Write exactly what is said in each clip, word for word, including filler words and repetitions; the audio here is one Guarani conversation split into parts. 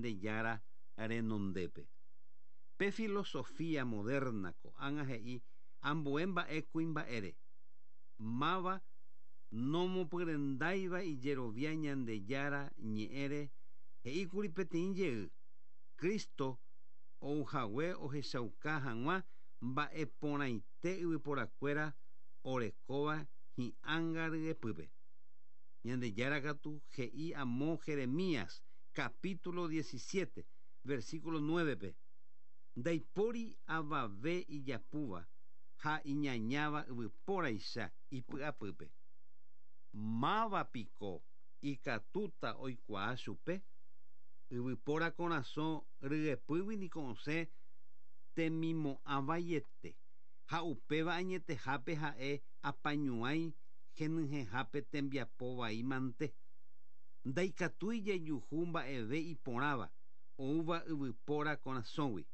Ñandejára renondépe. Pe filosofía moderna ko'ág̃a he'i ambue mba'e kuimba'ére. Máva nomopyrendáiva ijerovia Ñandejára ñe'ẽre he'íkuri peteĩ jey Cristo ouhague ohechauka hag̃ua mba'eporãite yvyporakuéra orekóva hi'ánga ryepýpe. Ñandejára katu he'i amo Jeremías capítulo diecisiete versículo nueve-pe ndaipóri avave ijapúva ha iñañáva yvypóraicha ipy'apýpe. Mávapiko ikatúta oikuaa chupe yvypóra korasõ ryepýgui niko osẽ temimo'ãvaiete ha upéva añetehápe ha'e apañuái henyhẽhápe tembiapo vaímante. Ndaikatúi jejuhu mba'eve iporãva oúva yvypóra korasõgui.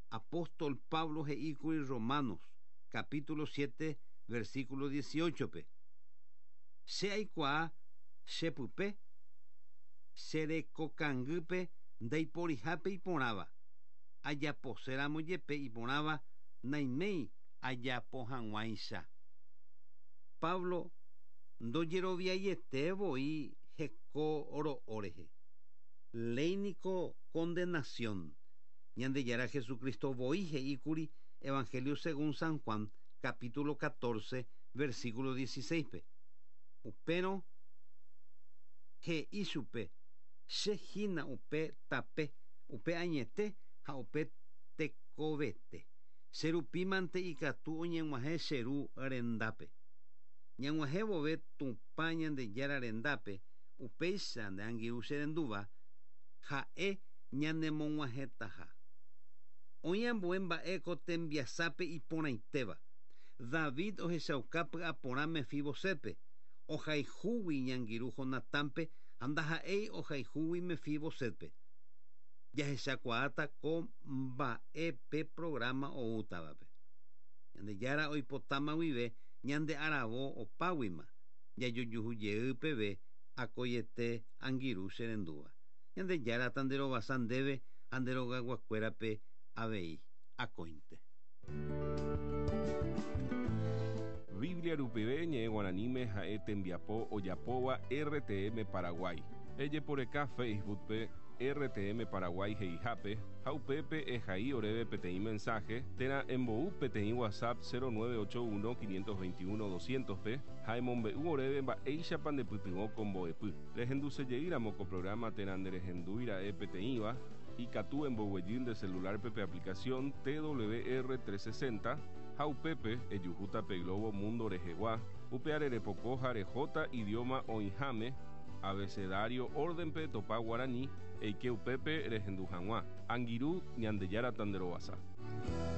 Apóstol Pablo he'íkuri Romanos capítulo siete versículo dieciocho-pe che aikuaa chepype cherekokangýpe ndaiporihápe iporãva ajaposéramo jepe iporãva naiméi ajapo hag̃uáicha. Pablo ndojeroviaiete voi heko ro'o rehe. Léi niko condenación. Ñandejára Jesucristo voi he'íkuri Evangelio según San Juan capítulo catorce versículo dieciséis-pe. Upérõ he'i chupe che hína upe tape upe añete ha upe tekovete. Che rupímante ikatu oñeg̃uahẽ che ru rendápe. Ñag̃uahẽ vove Tupã Ñandejára rendápe upéicha nde angirũ che rendúva ha'e ñanemog̃uahẽtaha. Oĩ ambue mba'e ko tembiasápe iporãitéva. David ohechauka py'aporã Mefibosetpe ohayhúgui iñangirũ Jonatánpe ha ndaha'éi ohayhúgui Mefibosetpe. Jahechakuaáta ko mba'e pe programa oútavape. Ñandejára oipotáma guive ñande aravo opáguima jajojuhujey peve akoiete angirũ che rendúva. Ñandejára tanderovasa ndéve ha nde rogayguakuérape avei akóinte. Biblia rupive ñe'ẽ guaraníme ha'e tembiapo ojapóva R T M Paraguay. Ejeporeka Facebook-pe R T M Paraguay he'ihápe ha upépe ehai oréve peteĩ mensaje térã embou peteĩ WhatsApp cero nueve ocho uno quinientos veintiuno doscientos-pe ha emombe'u oréve mba'éichapa ndepytyvõ ko mbo'epy. Rehendusejeýramo ko programa térã nderehendúira'e peteĩva ikatu emboguejy nde celular-pe pe aplicación T W R trescientos sesenta ha upépe ejuhúta pe Globo Mundo rehegua upe arerepoko ha rehóta idioma oĩháme abecedario orden-pe topa guarani eike upépe rehendu hag̃ua. Angirũ Ñandejára tanderovasa.